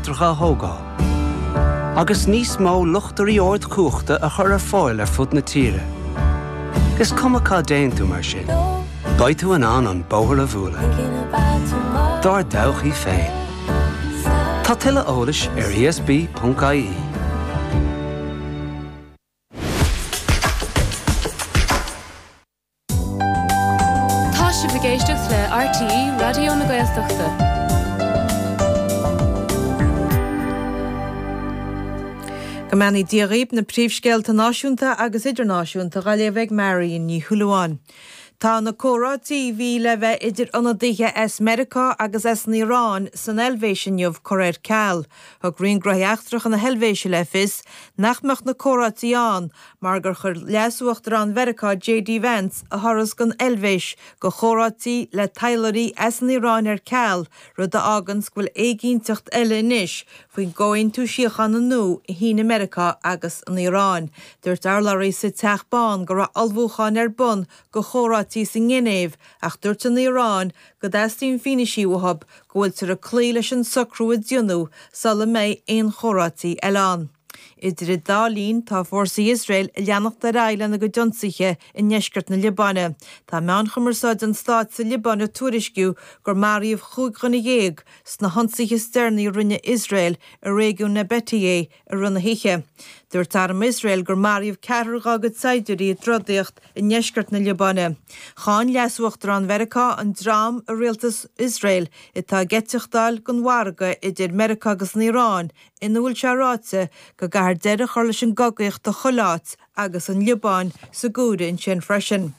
leictreacha a thógáil, agus níos mó luchtairí ardchumhachta a chur ar fáil ar fud na tíre. Is cuma cá dtéann tú mar sin, beidh tú in ann an bóthar a bhualadh. Dár dtodhchaí féin. Tá tuilleadh eolais ar ESB.ie. Tá sibh ag éisteacht le RTÉ Raidió na Gaeltachta. Go mbeannaí Dia dhaoib, na príomhscéalta náisiúnta agus idirnáisiúnta dhá léamh ag Marion Ní Shúilleabháin. Tá na comhráití a bhí le bheith idir ionadaithe as Meiriceá agus as an Iaráin san Eilvéis inniu curtha ar ceal. Thug Roinn Gnóthaí Eachtracha na hEilvéise le fios nach mbeadh na comhráití ann mar gur chuir Leas-Uachtarán Mheiriceá JD Vance a thuras gon Eilvéis go chomhráití le taidhleoirí as an Iaráin ar ceal, rud a fháganns go bhfuil éiginnteacht eile anois faoin gcomhaontú síochána nua a shínigh Meiriceá agus an Iaráin. Dúirt urlabhraí sa Teach Bán go raibh ullmhúcháin ar bun go chomhráití sa nGinéiv ach dúirt an Iaráin go dteastaíonn fianaisí uathu go bhfuiltear ag cloí leis an socrú a déanadh sula mbeidh aon chomhráití eile ann. Idir an dá linn, tá fórsaí Iosrael ag leanacht ar aghaidh lena gcuid ionsaithe i ndeisceart na Liobáine. Tá meáin chumarsáide an stáit sa Liobáin ag tuairisciú gur maraíodh 15 dhuine sna hionsaithe is deireanaí a rinne Iosrael i réigiún Nabatieh i rith na hoíche. Dúirt arm Iosrael gur maraíodh ceathrar dá gcuid saighdiúirí i dtrodaíocht i ndeisceart na Liobáine. Cháin Leas-Uachtarán Mheiriceá an dream i rialtas Iosrael atá ag eiteachtáil don mhargadh idir Meiriceá agus an Iaráin ina bhfuil sé ráite go gcaithfear deireadh a chur leis an gcogaíocht i chuile áit agus an Liobáin sa gcomhaireamh ansin freisin.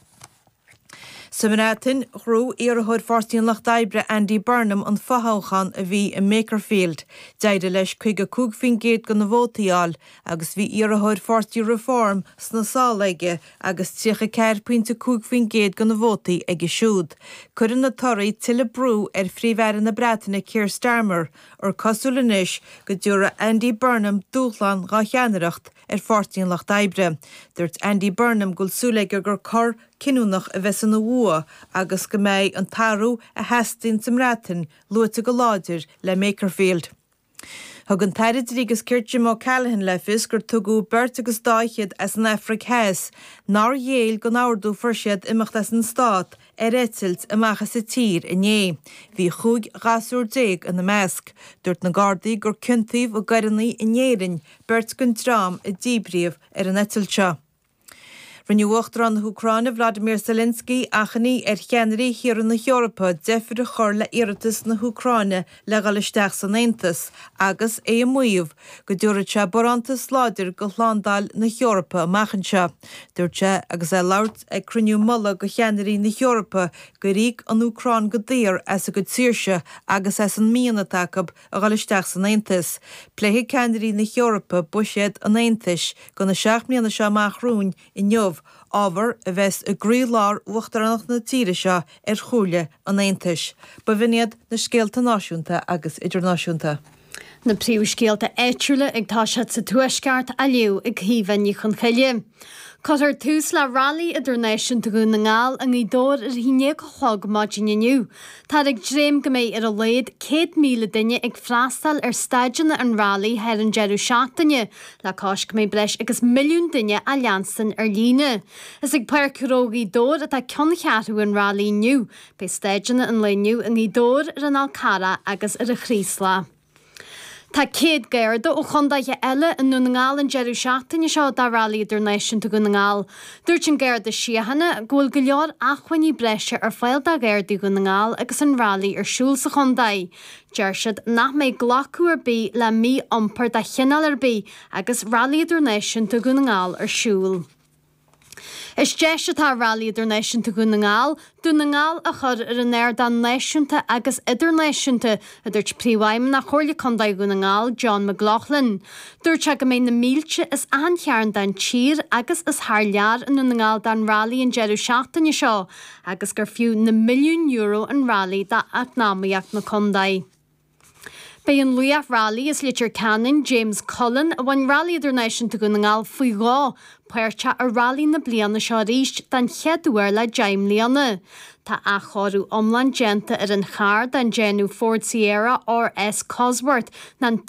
Sa mBreatain, ghnóthaigh iarrthóir Pháirtí an Lucht Oibre Andy Burnham an fothoghchán a bhí i mBakerfield. D'éirigh leis 55% de na vótaí a fháil agus bhí iarrthóir Pháirtí Reform sna sála aige agus 34.5% de na vótaí aige siúd. Cuireann na torthaí tuilleadh brú ar Phríomh-Aire na Breataine Keir Starmer gur cosúil anois go dtabharfaidh Andy Burnham dúshlán dhá cheannaireacht ar Pháirtí an Lucht Oibre. Dúirt Andy Burnham go bhfuil súil aige gur cor cinniúnach a bheas ina bhua agus go mbeidh an t-athrú a theastaíonn sa mBreatain luaite go láidir le Makerfield. Thug an tAire Dlí agus Cirt Jim O'Callaghan le fios gur tugadh beirt agus dá fhichead as an Afraic Theas nár ghéill don ordú a fuair siad imeacht as an stát ar eitilt amach as an tír inné. Bhí 15 ghasúr ina measc. Dúirt na Gardaí gur ciontaíodh i gcoireanna in Éirinn beirt den dream a díbríodh ar an eitilt seo. Rinne Uachtarán na hÚcráine Vladimir Zelensky achainí ar cheannairí thíortha na hEorpa deifir a chur le iarratas na hÚcráine le dhul isteach san Aontas agus é ag maíomh go dtabharfadh sé barántas láidir do shlándáil na hEorpa amach anseo. Dúirt sé agus é ag labhairt ag cruinniú mullaigh de cheannairí na hEorpa gur íoc an Úcráin go daor as a gcuid saoirse agus as an mian atá acu a dhul isteach san Aontas. Pléifidh ceannairí na hEorpa buiséad an Aontais do na 7 mbliana seo amach romhainn inniu, ábhar a bheas i gcroílár uachtaránacht na tíre seo ar Chomhairle an Aontais. B'in iad na scéalta náisiúnta agus idirnáisiúnta. Na príomhscéalta áitiúla ag toiseacht sa Tuaisceart á léamh ag Caoimhe Ní Chonchoille. Cuirfear tús le Railí Idirnáisiúnta Dhún na nGall i nGaoth Dobhair ar a haon déag a chlog maidin inniu. Táthar ag dréim go mbeidh ar a laghad 100,000 duine ag freastal ar staideanna an Railí thar an deireadh seachtaine, le cois go mbeidh breis agus milliún duine á leanstan ar líne. Is ag Páirc Ghnó Ghaoth Dobhair atá ceanncheathrú an Railí inniu. Beidh staideanna an lae inniu i nGaoth Dobhair, ar an Fhál Carrach agus ar an Chraoslach. Tá 100 Garda ó chondaetha eile i nDún na nGall an deireadh seachtaine seo do Railí Idirnáisiúnta Dhún na nGall. Dúirt an Garda Síochána go bhfuil go leor acmhainní breise ar fáil do Ghardaí Dhún na nGall agus an Railí ar siúl sa chontae. Deir siad nach mbeidh glacadh ar bith le mí-iompar de chineál ar bith agus Railí Idirnáisiúnta Dhún na nGall ar siúl. Is deis atá i Railí Idirnáisiúnta Dhún na nGall, Dún na nGall a chur ar an ardán náisiúnta agus idirnáisiúnta, a dúirt Príomhfheidhmeannach Chomhairle Contae Dhún na nGall, John McLaughlin. Dúirt sé go mbeidh na mílte as achan chearn den tír agus as thar lear i nDún na nGall don Railí an deireadh seachtaine seo agus gur fiú na milliúin euro an Railí d'eacnamaíocht na contae. Beidh an laoch railí as Leitir Ceanainn, James Cullen, a bhain Railí Idirnáisiúnta Dhún na nGall faoi dhó, páirteach i railí na bliana seo arís den chéad uair le 10 mbliana. Tá athchóiriú iomlán déanta ar an charr den déanamh Ford Sierra RS Cosworth, an.